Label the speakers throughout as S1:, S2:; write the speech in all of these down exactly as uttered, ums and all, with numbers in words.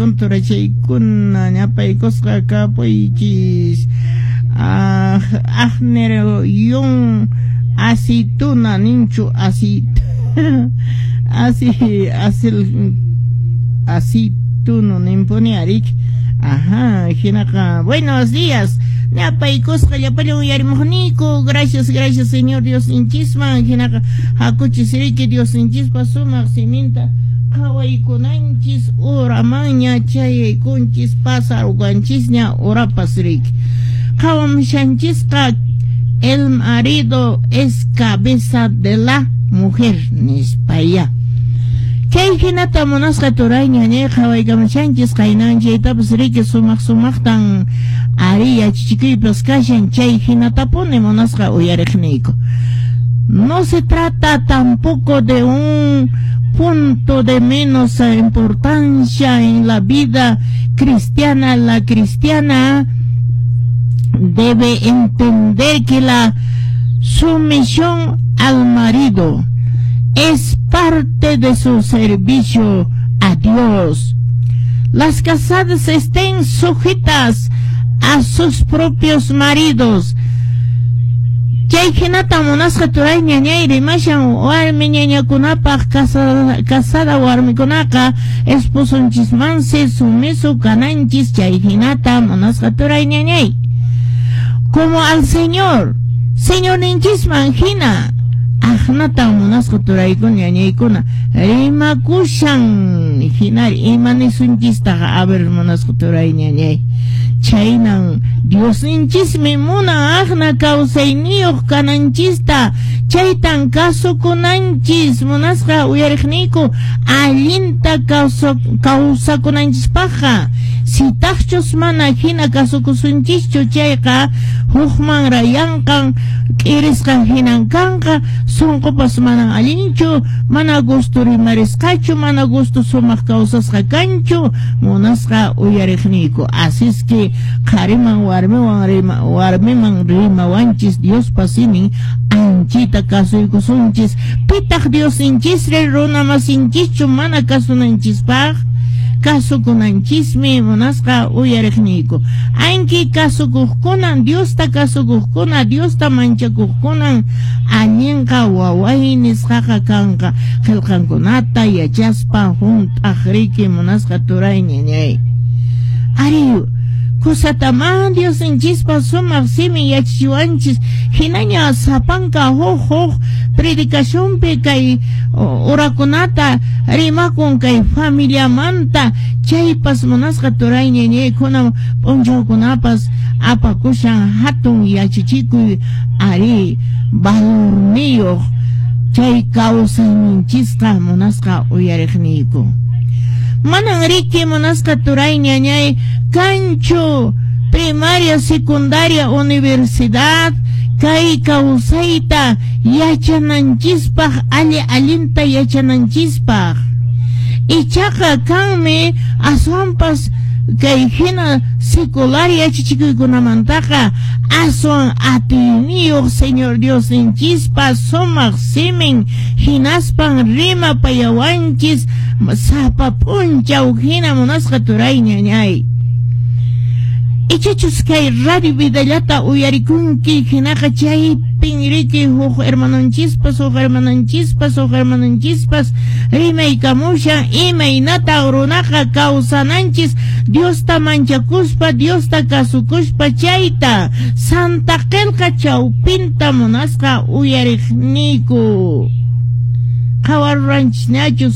S1: Turachaykuna ñapaykusqa kapuychis. Ah, Agner yun aceituna ninchu aceit asi asil aceituno nimpuni arik. Ajá, hinaqa buenos días. Ñapaykusqa llapallan uyarimuqniyku. Gracias, gracias, Señor Diosninchisman. Hinaqa hakuchis riki Diosninchispa sumaq siminta qhawaykunanchis uramanña chayaykunchis pasarqanchisña urapas riki. Qhawamushanchisqa el marido es cabeza de la mujer nispaya. Chay hinata munasqa turay ñañay qhawaykamushanchis qaynan chaytapas riki sumaq sumaqtan ari yachachikuypas kashan chay hinatapuni munasqa uyariqniyku. No se trata tampoco de un punto de menos importancia en la vida cristiana. La cristiana debe entender que la sumisión al marido es parte de su servicio a Dios. Las casadas estén sujetas a sus propios maridos. Chay hinata munasqa turay ñañay rimashan warmi ñañakunapaq casada, casada warmikunaqa esposonchismansi sumiso kananchis chay hinata munasqa turay ñañay. Como al Señor, Señorninchisman hina aqnatan munasqa turaykuna ñañaykuna rimakushan hinari ima nisunchistaqa a ver munasqa turay ñañay. Chaynan Diosninchismi munan aqna kawsayniyuq kananchista chaytan kasukunanchis munasqa uyariqniyku allinta kawsakunanchispaqqa. Sitaqchus mana hina kasukusunchischu chayqa hukman rayanqan k'irisqan hinan kanqa sunqupas manan allinchu mana gusto rimarisqachu mana gusto sumaq kawsasqa kanchu munasqa uyariqniyku. Así es que qhariman warmiwan rima warmiman rimawanchis Diospa simin anchita kasuykusunchis pitaq Diosninchisri runa masinchischu mana kasunanchispaq kasukunanchismi munasqa uyariqniyku. Anki kasukuqkunan Diosta kasukuqkuna Diosta manchakuqkunan allinqa waway nisqaqa kanqa qillqankunata yachaspa hunt'aq riki munasqa turay ñañay. Ari kusataman Diosninchispa sumaq simin yachachiwanchis hinaña sapanka huk huk predicacionpi kay urakunata rimakun kay familiamanta chaypas munasqa turay ñañaykuna p'unchawkunapas apakushan hatun yachachikuy ari valorniyuq chay kawsayninchisqa munasqa uyariqniyku. Manan riki munasqa turay ñañay kanchu primaria, secundaria, universidad kay kawsayta yachananchispaq alli allinta yachananchispaq. Ichaqa kanmi aswanpas kay hina secular yachachikuykunamantaqa aswan atiyniyuq Señor Diosninchispa sumaq simin hinaspan rimapayawanchis sapa p'unchaw hina munasqa turay ñañay. Ichachus kay radio vidallata uyarikunki hinaqa chaypin riki huk hermanonchispas huk hermanonchispas huk hermanonchispas rimaykamushan imaynata runaqa kawsananchis Diosta manchakuspa Diosta kasukuspa chayta Santa Qillqa chawpinta munasqa uyariqniyku. Qhawaruranchis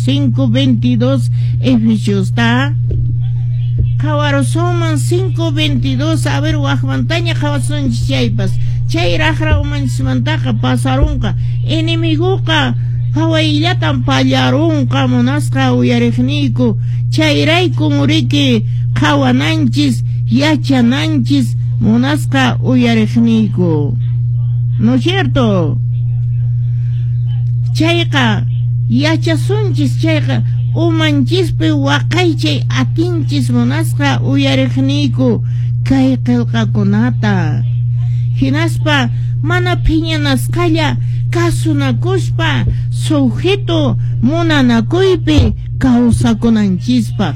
S1: cinco veintidós Efesiosta. Qhawarusunman cinco veintidós a ver waqmantaña qhawasunchis chaypas chay raqra umanchismantaqa pasarunqa enemiguqa hawayllatan pallarunqa munasqa uyariqniyku chayraykun riki qhawananchis yachananchis munasqa uyariqniyku. ¿No es cierto? Chayqa yachasunchis chayqa umanchispi waqaychay atinchis munasqa uyariqniyku kay qillqakunata hinaspa mana phiñanasqalla kasunakuspa sujeto munanakuypi kawsakunanchispaq.